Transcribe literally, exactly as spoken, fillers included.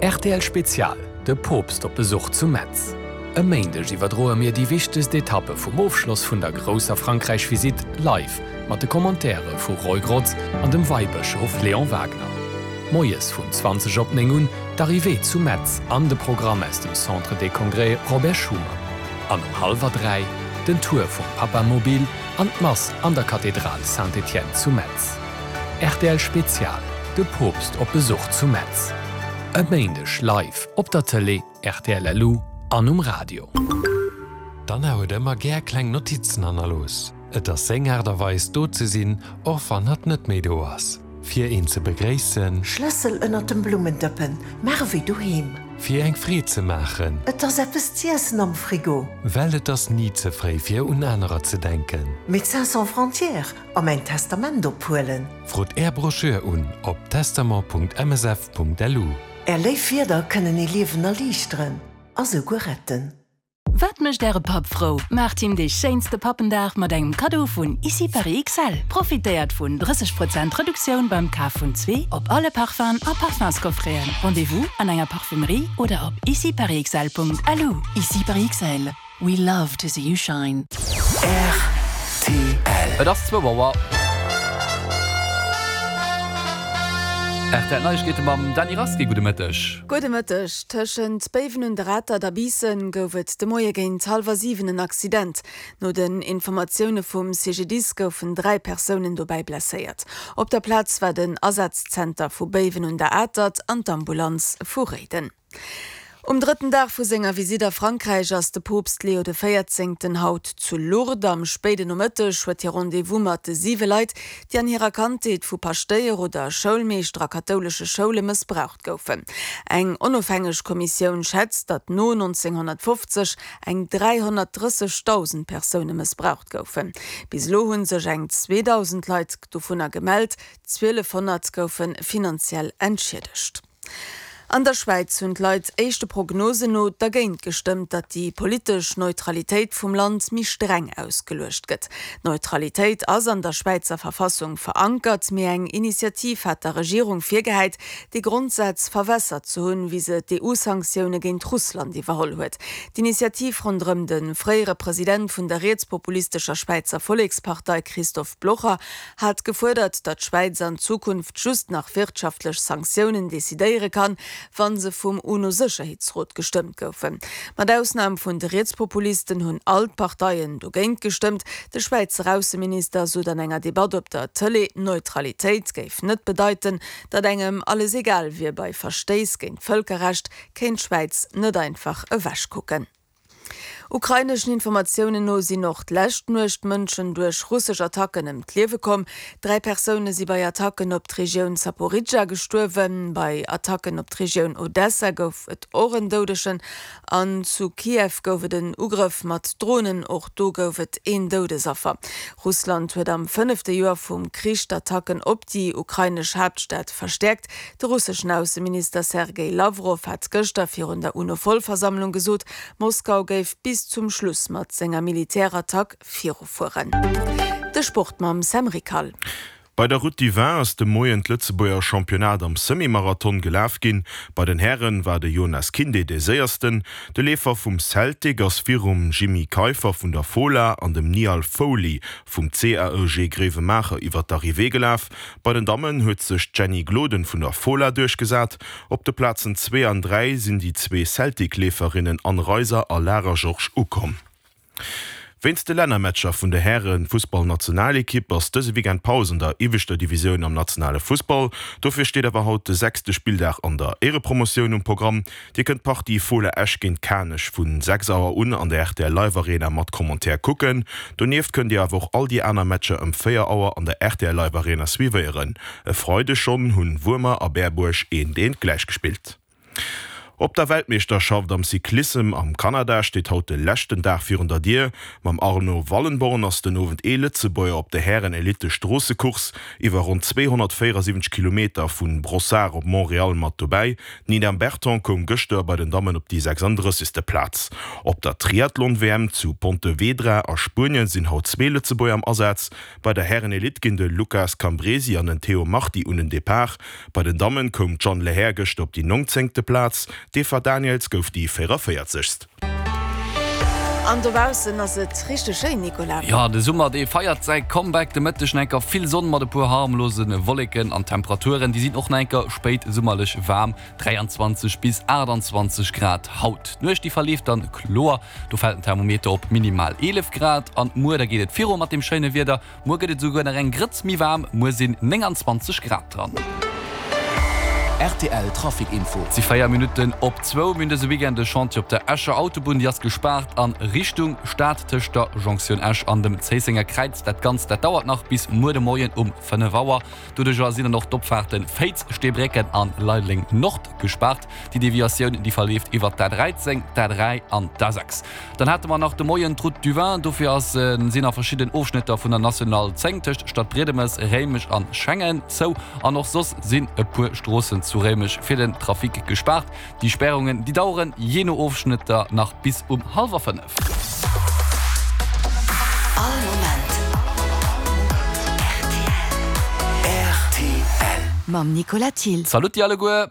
Rtl Spezial, De Poopst op Besuch zu Metz. E Méindeg iwwerdroe mir déi wichtegst Etappe vum Ofschloss vun der grousser Frankräich-Visitt live mat de Commentaire vu Roy Grotz an dem Weibëschof Léon Wagner. Moies vun zwanzeg op néng un d'Arrivée zu Metz an de Programm aus dem Centre des Congrès Robert Schuman. An um hallwer dräi den Tour vum Papamobil an d'Mass an der Kathedral Saint-Étienne zu Metz. Rtl Spezial, De Poopst op Besuch zu Metz. E Méindeg live op der Tëlee, rtl L U an um Radio. D'Anna huet ëmmer gär kleng Notizen hannerlooss. Et ass seng Aart a Weis, do ze sinn, och wann hatt net méi do ass. Fir een ze begréissen. Schlëssel ënnert dem Blummendëppen, maach ewéi doheem. Fir eng Freed ze maachen. Et ass eppes z'iessen am Frigo. Well et ass ni ze fréi fir un anerer ze denken. Médecins Sans Frontières a mäin Testament ophuelen. Frot Är Broschür un op testament.msf.lu. Är léif Wierder kënnen ee Liewen erliichteren a souguer retten. Wat mécht Äre Papp frou? Maacht him dee schéinste Pappendag mat engem Kaddo vun Ici Paris X L. Profitéiert vun drësseg Prozent Reduktioun beim Kaf vun zwee op alle Parfumsen a Parfumscoffreten. Rendez-vous an enger Parfumerie oder op iciparisxl Punkt L U. Ici Paris X L. We love to see you shine. R T L. Et ass zwou Auer. R T L Neiegkeete mam Dany Rasqué. Gudde Mëtteg. Gudde Mëtteg. Tëschent Béiwen un der Atert a Biissen gouf et de Moie géint hallwer siwen en Accident. No den Informatioune vum C G D I S goufen dräi Persounen dobäi blesséiert. Op der Plaz war den Asazzenter vu Béiwen un der Atert an d'Ambulanz vu Réiden. Um drëtten Dag vu senger Visitt a Frankräich ass de Poopst Leo de Véierzéngten haut zu Lourdes. Am spéiden Nomëtteg huet hie Rendez-vous mat de siwe Leit, déi an hirer Kandheet vu Paschtéier oder Schoulmeeschter a kathoulesche Schoule mëssbraucht goufen. Eng onofhängeg Kommissioun schätzt, datt no nonzénghonnertfofzeg eng dräihonnertdrëssegdausend Persoune mëssbraucht goufen. Bis elo hu sech eng zweedausend Leit dovunner gemellt, zwielefhonnert goufe finanziell entschiedegt. An der Schwäiz hunn d'Leit éischte Prognosen no dergéint gestëmmt, datt déi politesch Neutralitéit vum Land méi streng ausgeluecht gëtt. D'Neutralitéit ass an der Schwäizer Verfassung verankert, mee eng Initiativ hat der Regierung virgehäit, dee Grondsaz verwässert ze hunn, wéi se d'E U-Sanktioune géint Russland iwwerholl huet. D'Initiativ ronderëm de fréiere President vun der rietspopulistescher Schwäizer Vollekspartei Christoph Blocher hat gefuerdert, datt d'Schwäiz an Zukunft just nach wirtschaftlech Sanktiounen decidéiere kann, wann se vum UNO-Sécherheetsrot gestëmmt goufen. Mat Ausnam vun de Rietspopulisten hunn all d'Parteien dogéint gestëmmt. De Schwäizer Ausseminister sot an enger Debatt op der Tëlee, Neutralitéit géif net bedeiten, datt engem alles egal wier. Bei Verstéiss géint d'Vëlkerrecht kéint d'Schwäiz net einfach ewechkucken. Ukraineschen Informatiounen no sinn och d'lescht Nuecht Mënschen duerch russesch Attacken ëm d'Liewe komm. Dräi Persoune si bei Attacken op d'Regioun Saporischschja gestuerwen. Bei Attacken op d'Regioun Odessa gouf et och en Doudegen. An zu Kiew gouf et en Ugrëff mat Dronen, och do gouf et een Doudesaffer. Russland huet am fënnefte Joer vum Krich d'Attacken op déi ukrainesch Haaptstad verstäerkt. De russeschen Ausseminister Sergej Lawrow hat gëschter virun der UNO-Vollversammlung gesot, Moskau géif bis zum Schluss mat senger Militärattack virufueren. De Sport mam Sam Rickal. Bei der Route du Vin ass de Moien d'Lëtzebuerger Championnat am Semi-Marathon gelaf ginn. Bei den Hären war de Jonas Kinde de Séiersten. De Leefer vum Celtic ass virum Jimmy Keifer vun der Fola an dem Niall Foley vum C A E G Grevenmacher iwwer d'Arrivée gelaf. Bei den Dammen huet sech Jenny Gloden vun der Fola duerchgesat. Op de Plazen zwee an dräi sinn déi zwee Celtic-Leeferinnen Anne Reiser a Lara Georges ukomm. Wéinst de Lännermatcher vun der Häre-Fussballnationalekipp ass dëse Weekend Paus an der ieweschter Divisioun am nationale Fussball. Dofir steet awer haut de sechste Spilldag an der Éierepromotioun um Programm. Dir kënnt d'Partie Fola Esch géint Kanech vu sechs Auer un an der R T L Live Arena mat Commentaire kucken. Donieft kënnt Dir awer och all déi aner Matcher ëm véier Auer an der R T L Live Arena suivéieren. E Freideg schonn hunn Wuermer a Berbuerg eent eent gläich gespillt. Op der Weltmeeschterschaft am Cyclissem am Kanada steet haut de leschten Dag virun der Dier. Mam Arno Wallenborn ass den Owend ee Lëtzebuerger op der Hären-Elite-Stroossecourse iwwer ronn zweehonnertvéierasiwwenzeg Kilometer vu Brossard op Montréal mat dobäi. D'Nina Berton koum gëschter bei den Dammen op déi sechsanddrëssegste Plaz. Op der Triathlon-W M zu Pontevedra a Spuenien sinn haut zwee Lëtzebuerger am Asaz. Bei der Hären-Elite ginn de Lucas Cambresi an den Théo Marti un den Depart. Bei den Dammen koum d'Jeanne Lehair gëschter op déi nongzéngte Plaz, d'Eva Daniëls gouf déi véierunvéierzegst. An dobaussen ass et richteg schéin, Nicolas. Jo, de Summer dee feiert säi Comeback. De Mëtteg nach enker vill Sonn mat e puer harmlose Wolleken an d'Temperaturen déi sinn och nach enker spéitsummerlech waarm, dräianzwanzeg bis aachtanzwanzeg Grad haut. D'Nuecht déi verleeft dann kloer, do fält den Thermometer op minimal eelef Grad. An muer da geet et viru mat deem schéine Wieder, muer gëtt et esouguer nach eng Grëtz méi waarm, muer sinn nénganzwanzeg Grad dran. Rtl Trafic Info. Et si véier Minutten op zwou. Mir hunn dëse Weekend e Chantier op der Escher Autobunn. Déi ass gespaart a Richtung Stad tëscht der Jonktioun Esch an dem Zéissenger Kräiz. Dat Ganzt dat dauert nach bis muer de Moien um fënnef Auer. Doduercher sinn dann och d'Opfaarten Féiz, Steebrécken an Leideleng Nord gespaart. Déi Deviatioun déi verleeft iwwert d'A dräizéng, d'A dräi an d'A sechs. Dann hate mer nach de Moien d'Route du Vin. Dofir ass sinn a verschidden Ofschnëtter vun der National zéng tëscht Stadbriedemes, Réimech an Schengen zou. An och soss sinn e puer Stroossen zu Réimech fir den Trafic gespaart. Déi Spärungen déi daueren jee no Ofschnëtter nach bis um hallwer fënnef. All Moment rtl. Mam Nicolas Thill. Salutti alleguer!